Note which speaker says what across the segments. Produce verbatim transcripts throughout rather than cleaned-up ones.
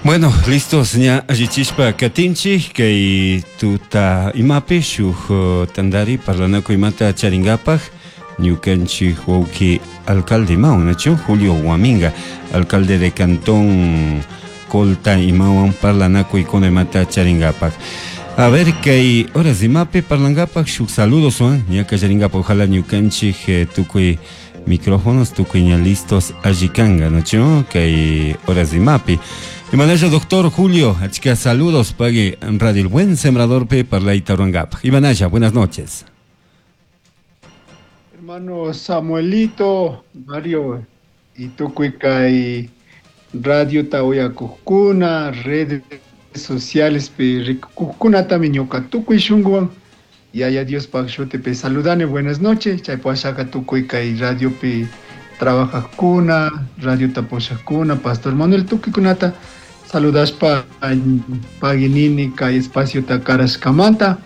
Speaker 1: Bueno, listos ña allichishpa katinchik kay tuta imapi shuk uh, tandari parlanakuymanta charingapaj ñukanchik wawki alcalde imawan nachu Julio Guaminga, alcalde de Cantón Colta imawan parlanakuykuna imata charingapaj. A ver, kay horas imapi parlangapaj shuk saludos wan ña kallaringapaj ojalá ñukanchik eh, tukuy micrófonos tukuy ña listos allikanga nachu kay horas imapi. Imanalla doctor Julio, achka saludos pagui en Radio El Buen Sembrador pe parlayta ruangapaj. Imanalla, buenas noches.
Speaker 2: Hermano Samuelito, Mario y tukuy kay radio tawayakujkuna, redes sociales pi rikukujkunatami ñuka tukuy shunkuwan Yaya Diospaj shutipi saludani, buenas noches, chaypashaka tukuy kay radiopi trabajajkuna, radio tapushajkuna, Pastor Manuel tukuykunata saludashpa paginini kay espaciota karashkamanta,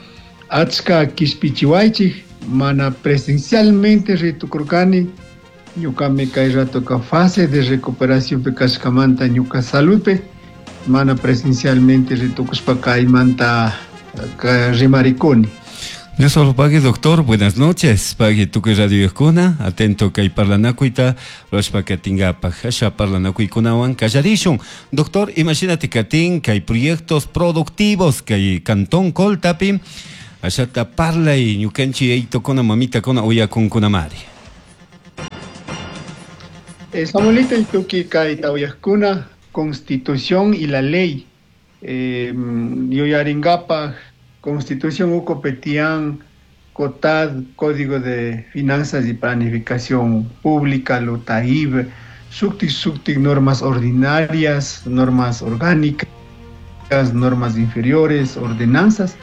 Speaker 2: achka kishpichiwaychik, mana presencialmente ritukurkani, ñukami kay ratoka fase de recuperación pi kashkamanta ñuka saludpi, mana presencialmente ritukushpa kaymanta rimarikuni.
Speaker 1: Dios solo pague, doctor. Buenas noches. Pague tukuy radio kuna. Atento kay parlanakuyta. Rashpa katingapaj. Asha parlanakuykunawan kallarishun. Doctor, imagínate katin kay proyectos productivos kay Cantón Coltapi. Ashata parlay ñukanchi eitokuna mamitakuna uyakunkunamari.
Speaker 2: Eh, Samuelito y tuki kay tawayakuna, Constitución y la ley. Eh, yuyaringapaj, Constitución Ucopetián, COTAD, Código de Finanzas y Planificación Pública, LOTAIB, Suktik Suktik, normas ordinarias, normas orgánicas, normas inferiores, ordenanzas.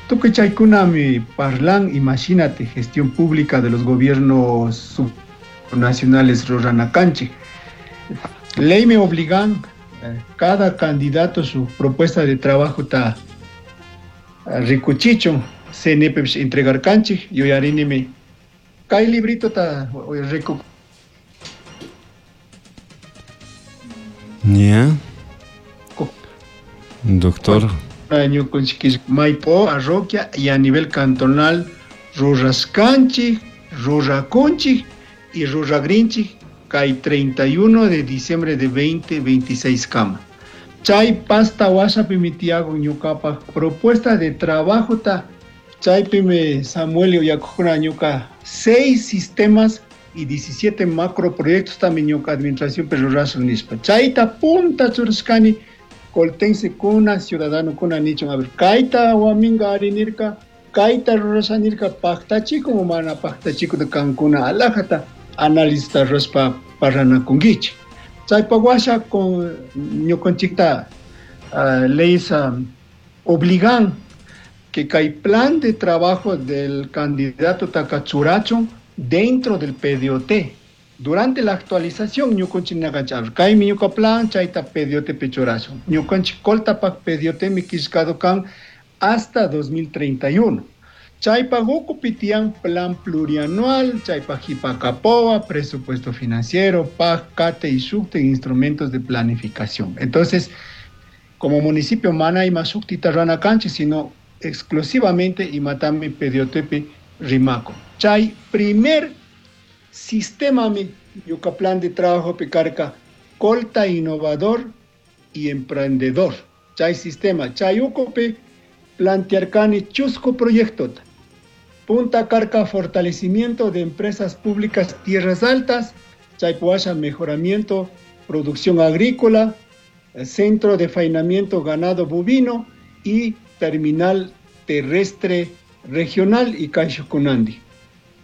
Speaker 2: Tukuy chaykunami parlan, imagínate, gestión pública de los gobiernos subnacionales ruranakanchik. Ley me obligan, eh, cada candidato su propuesta de trabajo ta rikuchichun, C N P entregar kanchik, yuyarinimi kay librito ta riku.
Speaker 1: Ya. Doctor.
Speaker 2: Año con chiquis, Maipo, parroquia y a nivel cantonal, Rurascanchi, Ruracunchi y Ruragrinchi, kay treinta y uno de diciembre de veinte veintiséis kama. Chay pasta washapi mitiago ñucapa propuesta de trabajo ta chaypi me Samuel uyakujuna ñuca seis sistemas y diecisiete macroproyectos también ñuca administración pero rurashun nishpa. Chayta punta churashkani coltense kuna ciudadano kuna nichon a ver kaita waminga arinirka kaita rurashanirka pactachico mana pactachico de cancuna alajata analista rurashpa paranakunguichi. Chaypa washa con ñukanchikta, uh, leyes, um, obligan que kay plan de trabajo del candidato takachurachon dentro del P D O T. Durante la actualización, ñukanchik nakachar, kay mi ñuka plan, chayta P D O T pechurachon. Ñukanchik koltapak P D O T mi kishkado kan hasta dos mil treinta y uno. Chaypa pitian plan plurianual, chaypa jipacapoa, presupuesto financiero, P A G, C A T E y S U C T E, instrumentos de planificación. Entonces, como municipio mana y masukti tarrana canchi, sino exclusivamente imatami P D O T P Rimaco. Chay primer sistema mi yuca plan de trabajo picarca, colta innovador y emprendedor. Chay sistema, chay ucope, plantearcani chusco proyecto. Punta Carca, fortalecimiento de empresas públicas tierras altas, Chaypuasha, mejoramiento, producción agrícola, centro de faenamiento ganado bovino y terminal terrestre regional y Caixocunandi.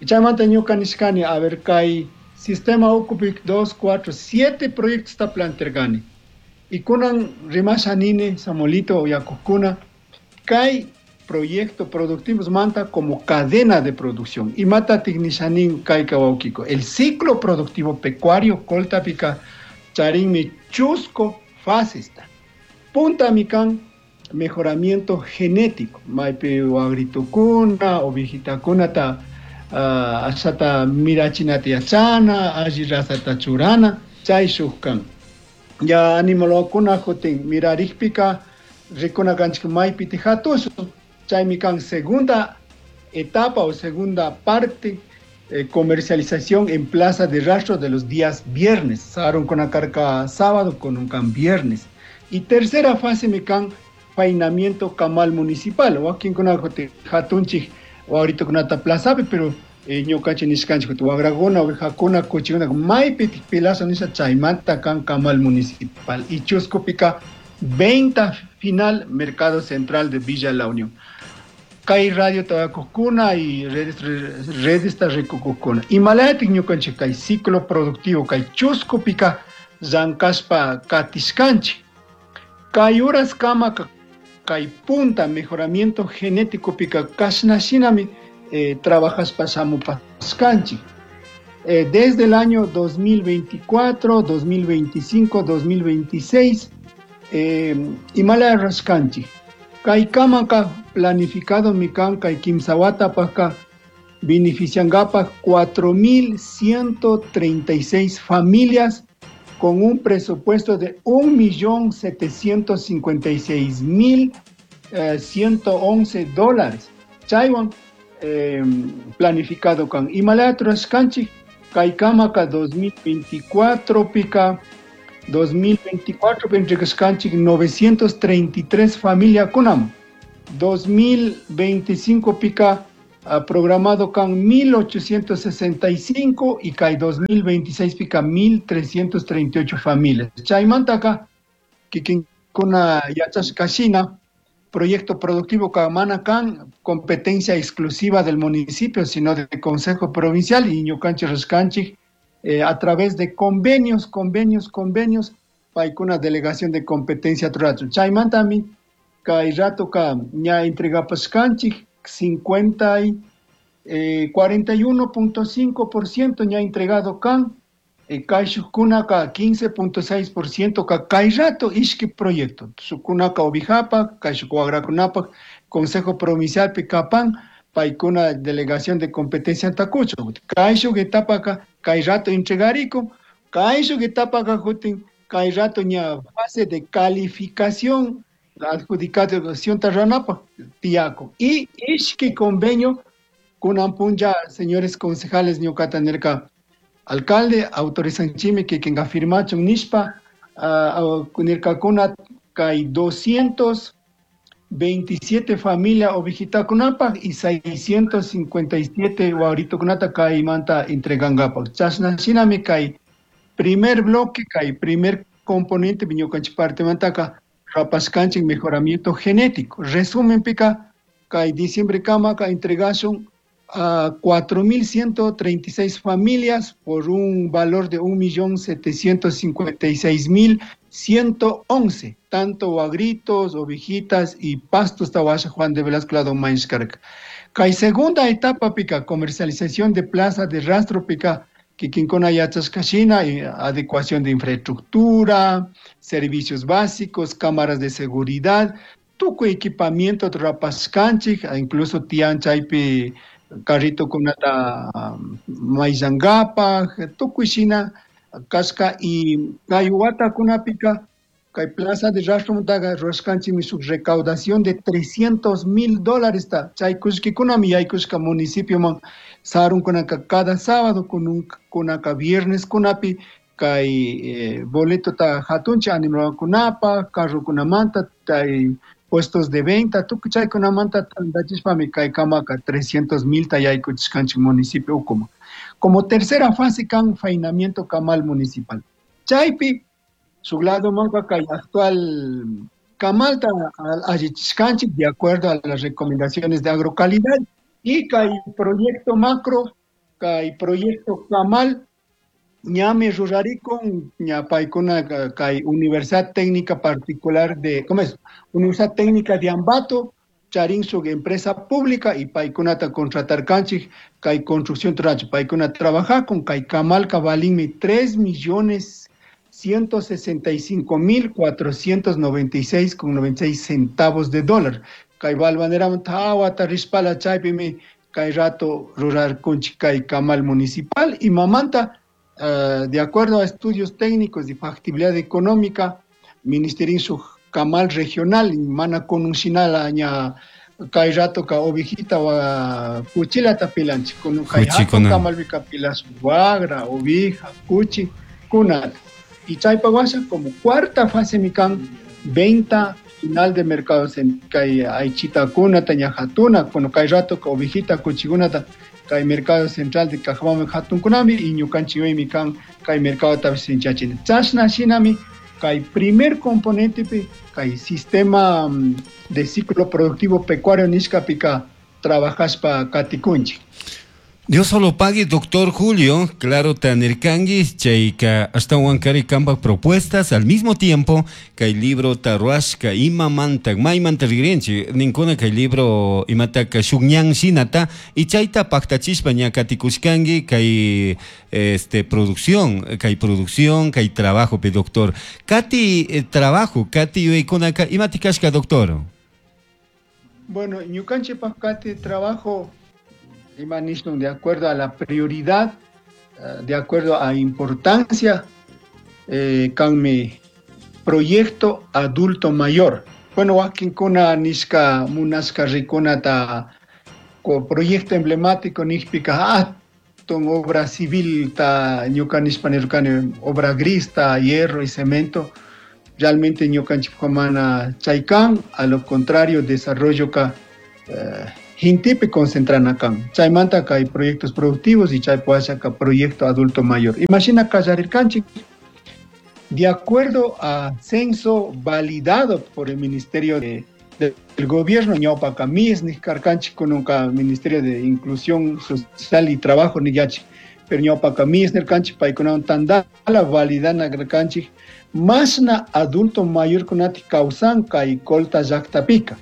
Speaker 2: Chaymanta ñuka nishkani, a ver, kay sistema Ucupic dos, cuatro, siete proyectos está planteargani. Y kunan rimasha nini, Samuelito uyakukuna, kay proyecto productivos manta como cadena de producción. Y mata tignishanin kay kawaukico. El ciclo productivo pecuario coltapica charinmi chusco fasista. Punta mikan mejoramiento genético. Maipi agritukuna, ovijitakuna ta, ah, ashata mirachinata yachana, alli razata churana, chay shukkan. Ya animalkuna jutin mirarikpika rikuna kanchik maypi hatushun. Chaymi kan segunda etapa o segunda parte, eh, comercialización en plaza de rastro de los días viernes. Sarun con carca sábado con un can viernes. Y tercera fase me can faenamiento camal municipal. O aquí con hatunchi o ahorita con ata plaza, pero ñukanchik nishkanchik wagraguna ovejakuna kuchikuna maypi pilazo nisha chaymanta kan camal municipal. Y chuscupika venta final mercado central de Villa La Unión. Kay radio tabacocuna y redes redes tarricocuna. Y malayatik ñukanchik kay ciclo productivo kay chuscupika llankashpa katishkanchik. Kay horas kama kay punta mejoramiento genético pika kashnashinami eh, trabajas pashamupaskanchik. Eh, desde el año dos mil veinticuatro, dos mil veinticinco, dos mil veintiséis, eh, imala raskanchik. Kay kamaka planificado mikan kay kimsawata paka beneficiangapa cuatro mil ciento treinta y seis familias con un presupuesto de un millón setecientos cincuenta y seis mil ciento once dólares. Chaywan eh, planificado kan Himalaya Trascanchi, kay kamaka dos mil veinticuatro pica dos mil veinticuatro pentricascanchi novecientos treinta y tres familia kunam. dos mil veinticinco pica uh, programado kan mil ochocientos sesenta y cinco y kay dos mil veintiséis pica mil trescientos treinta y ocho familias. Chaymantaka kikinkuna yachashkashina proyecto productivo kamana kan competencia exclusiva del municipio, sino del Consejo Provincial y ñukanchik rashkanchik, eh, a través de convenios, convenios, convenios, paikuna delegación de competencia trurachu. Chaymantami kay rato ka ña entregapashkanchik cincuenta y, eh, cuarenta y uno punto cinco por ciento ña entregado kan, eh, kay shukuna ka quince punto seis por ciento ka kay rato ishki proyecto. Shukuna ka ovijapa, kay shukuagrakunapa, Consejo Provincial Picapan, paikuna delegación de competencia tacucho. Kay shuk etapa ka kay rato entregariko, kay shuk etapa ka jutin, kay rato ña fase de calificación la adjudicación tarranapa, tiaco. Y ishki convenio con ampunja, señores concejales ñucatanerca, alcalde, autorizan chime que quien afirma chun nishpa, uh, kunirkakuna kay doscientos veintisiete familia ovejitakunapa y seiscientos cincuenta y siete guaritokunata kay manta entregangapa. Chashna shinami kay primer bloque, kay primer componente viñokanchi parte mantaka, rapaskanchik mejoramiento genético. Resumen pica, kay diciembre kama ka entregación a cuatro mil ciento treinta y seis familias por un valor de un millón setecientos cincuenta y seis mil ciento once, tanto agritos, ovejitas y pastos tahuasha Juan de Velasco lado Mainskarka. Kay segunda etapa pica, comercialización de plaza de rastro pica, kikinkuna yachashkashina, y adecuación de infraestructura, servicios básicos, cámaras de seguridad, tuco equipamiento rapaskanchik, incluso tian chaypi carrito kunata maizangapa, tukuishina, kashka y kay wata kunapika, kay plaza de rastro muntaga, roskanchimi su recaudación de trescientos mil dólares ta, chay kushkikunami yaykushka municipio man, sarun kunaka cada sábado, kun un, kunaka viernes kunapi, kay, eh, boleto ta hatuncha animal kunapa, carro kunamanta, tay puestos de venta, tukuy chay kunamanta tandachishpami kay kamaka trescientos mil ta yaykuchishkanchik municipio ukuma. Como tercera fase kan faenamiento kamal municipal. Chaypi, su lado manca kay actual kamal ta allichishkanchik de acuerdo a las recomendaciones de agrocalidad y kay proyecto macro, kay proyecto kamal ñame rurarikun, ñapaykuna kay Universidad Técnica Particular de, ¿cómo es? Universidad Técnica de Ambato, charin su empresa pública y paykunata contratar kanchik, kay construcción tracho, paykuna trabaja con kay kamal kabalinmi tres millones ciento sesenta y cinco mil cuatrocientos noventa y seis con noventa y seis centavos de dólar. Kay balbanera tawa tarispala chaypimi kay rato rurar kunchik kay kamal municipal y mamanta Uh, de acuerdo a estudios técnicos de factibilidad económica, ministerio su camal regional, mana conuncinala ña kay rato ka ovejita wa kuchilata pilanchik, kunun kay hatun kamalpi pilas wagra, ovija, kuchi, kunata. Y chaypa washa como cuarta fase mikan venta final de mercados en kay aychita kunata ña hatuna, kuno kay rato ka ovejita kuchikunata kay mercado central de Cajamarca hatun kunami y ñukanchik mikan kay mercado tapis sinchachina. Chashna shinami kay primer componente pi kay sistema de ciclo productivo pecuario nishkapika trabajaspa katikunchik.
Speaker 1: Dios solo pague, doctor Julio, claro, tanirkangi, chayka ashtawankari kamba propuestas, al mismo tiempo, kay libro taruashka, imamanta, maymanta rigrinchi, ninkuna kay libro imataka shukñan shinata, y chayta paktachishpa ña katikushkangi, kay este, producción, kay producción, kay trabajo, pe doctor. Kati eh, trabajo, kati yuyaykunaka, imatikashka, doctor?
Speaker 2: Bueno, ñukanchikpak kati trabajo, de acuerdo a la prioridad, de acuerdo a importancia, eh, con mi proyecto adulto mayor. Bueno, wakinkuna nishka munashka rikunata ko proyecto emblemático nishpika hatun obra civil ta ñuka nishpa nirkani obra gris ta hierro y cemento. Realmente ñukanchik mana chaykan, a lo contrario desarrollo ka eh, hintipi concentran acá. Chaymanta hay proyectos productivos y chay acá proyecto adulto mayor. Imagina kallarirkanchik, de acuerdo a censo validado por el Ministerio de, de, del Gobierno, ñawpaka mis niskarkanchik kununka Ministerio de Inclusión Social y Trabajo niyachi, pero ñawpaka mis nirkanchik paykunawan tandala validana karkanchik masna adulto mayor kunati kawsan kay Colta llaqtapika.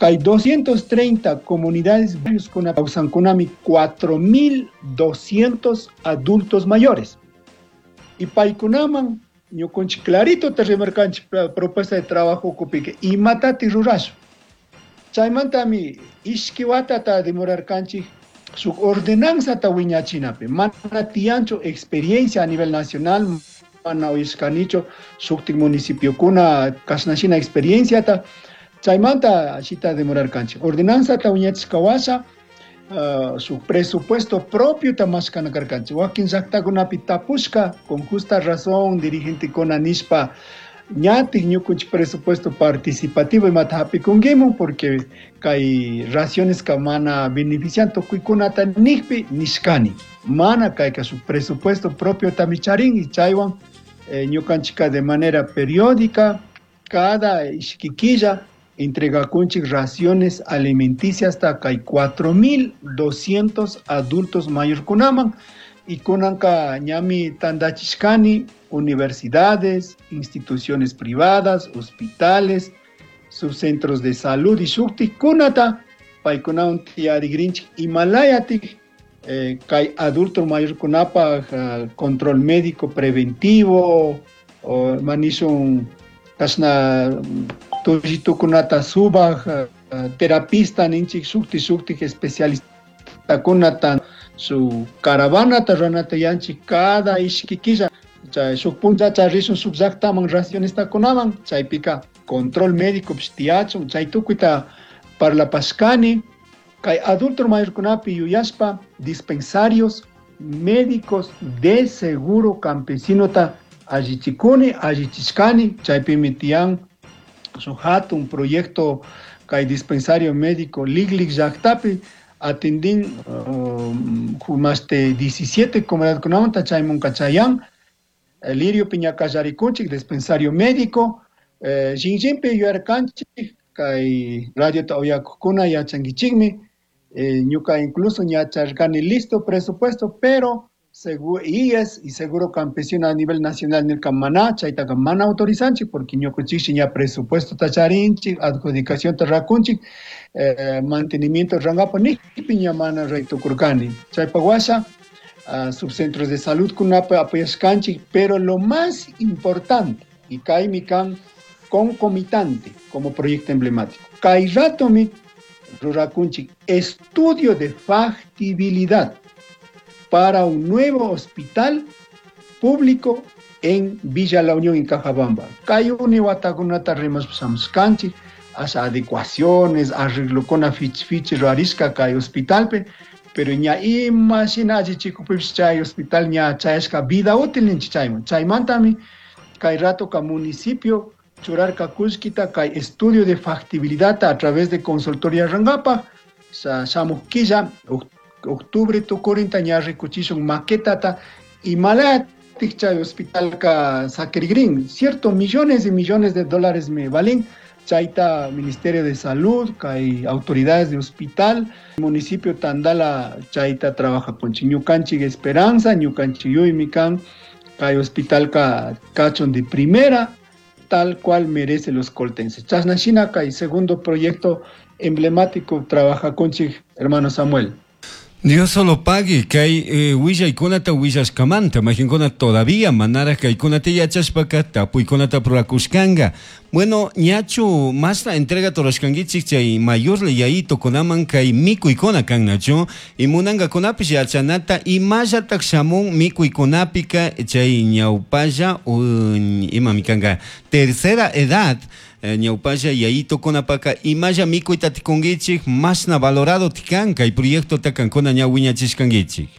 Speaker 2: Hay doscientas treinta comunidades con kawsankunami cuatro mil doscientos adultos mayores. Y paykunaman ñukunchik clarito te remarcanchik propuesta de trabajo kupike y matati rurashu. Chaymantami ishki watata demorarkanchik su ordenanza ta wiñachinapi. Mana tiyanchu experiencia a nivel nacional, mana uyashkanichu shuktik municipiokuna kashnashina experiencia ta. Chaymanta ashita demorarkanchik. Ordenanza ta wiñachishka washa, uh, su presupuesto propio ta mashkana karkanchik. Wakin llaqtakunapi tapushka, con justa razón, dirigentekuna nishpa ñatik ñukunchik presupuesto participativo imata hapikunkimun, porque kay raciones ka mana benefician tukuykunata nijpi nishkani. Mana kayka su presupuesto propio tamicharin y chaywan eh, ñukanchika de manera periódica, cada ishkikilla, entregakunchik raciones alimenticias hasta kay cuatro mil doscientos adultos mayor kunaman y kunanka ñami tandachishkani universidades, instituciones privadas, hospitales, subcentros de salud y shuktik kunata paykunawan tiyarigrinchik imalayatik eh, kay adulto mayor kunapaj uh, control médico preventivo o manishun kashna tullitukunata subaj, uh, terapista ninchik shukti shuktik especialistakunata su caravana ranata yanchik cada ishkikilla chay shuk puncha charishun shuk llaqtaman racionestakunaman chaypika control médico tiyachun chay tukuyta parlapashkani kay adulto mayorkunapi yuyashpa dispensarios médicos de seguro campesinota allichikuni allichishkani chaypimi tiyan su hatun proyecto kay dispensario médico Liglig llaqtapi atendin um, más de diecisiete comunidades kunamanta chaymunka chayan Lirio Piñacallarikunchik dispensario médico eh, Xinjinpi yuyarkanchik kay radio ta uyakukuna yachankichikmi eh, ñuka incluso ñacharkani listo presupuesto pero seguro I E S y seguro campesino a nivel nacional nirka mana chaytaka mana autorizanchik porque ñukunchikshi ña presupuesto tacharinchik adjudicación tarrakunchik eh, mantenimiento rangapa nijpi ña mana raytukurkani chaypa washa uh, subcentros de salud kunapa apoyashkanchik pero lo más importante y kaymi kan concomitante como proyecto emblemático kay ratomi rurakunchik estudio de factibilidad para un nuevo hospital público en Villa La Unión en Cajabamba. Kay uni watakunata rimashpa asha adecuaciones, arreglokuna fichi fichi rurarishka kay hospitalpi, pero ña ima shina allichikukpipish chay hospital ña chayashka vida útil ninchik chayman. Chaymantami kay ratoka municipio churarka kullkita kay estudio de factibilidad a través de consultoría rurankapak, shamuk killa, octubre tukurinta ña rikuchishun maquetata imalatik chay hospitalka sakirigrin, cierto, millones y millones de dólares me valen, chayta Ministerio de Salud, kay autoridades de hospital, municipio Tandala chayta trabaja con ñukanchik Esperanza, ñukanchik yuymi kan, kay hospital ka kachun de primera, tal cual merece los coltenses. Chashna shina kay segundo proyecto emblemático trabaja conchik hermano Samuel.
Speaker 1: Dios solo pague kay eh, willaykunata willashkamanta mayqinkuna todavía manaraj kaykunata yachashpaka tapuykunata rurakushkanka. Bueno, ñachu mashna entrega rurashkankichik chay mayorlla yayitukunaman kay mikuykuna kan nachu y munankakunapish yachanata imallatak shamun mikuykunapika chay ñawpalla imami kanka tercera edad eh, ñawpalla yayitukunapaka imalla mikuyta tikunkichik mashna valorado tikan kay proyectota kankuna ña wiñachishkankichik.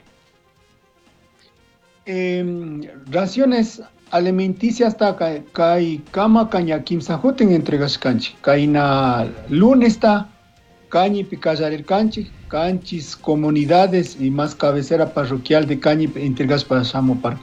Speaker 2: Eh, raciones alimenticias ta kay kama kaña kimsa hutin entregashkanchik kayna lunes ta Cañipi kallarirkanchik kanchis comunidades y más cabecera parroquial de Cañipi entregashpa shamuparkanchik.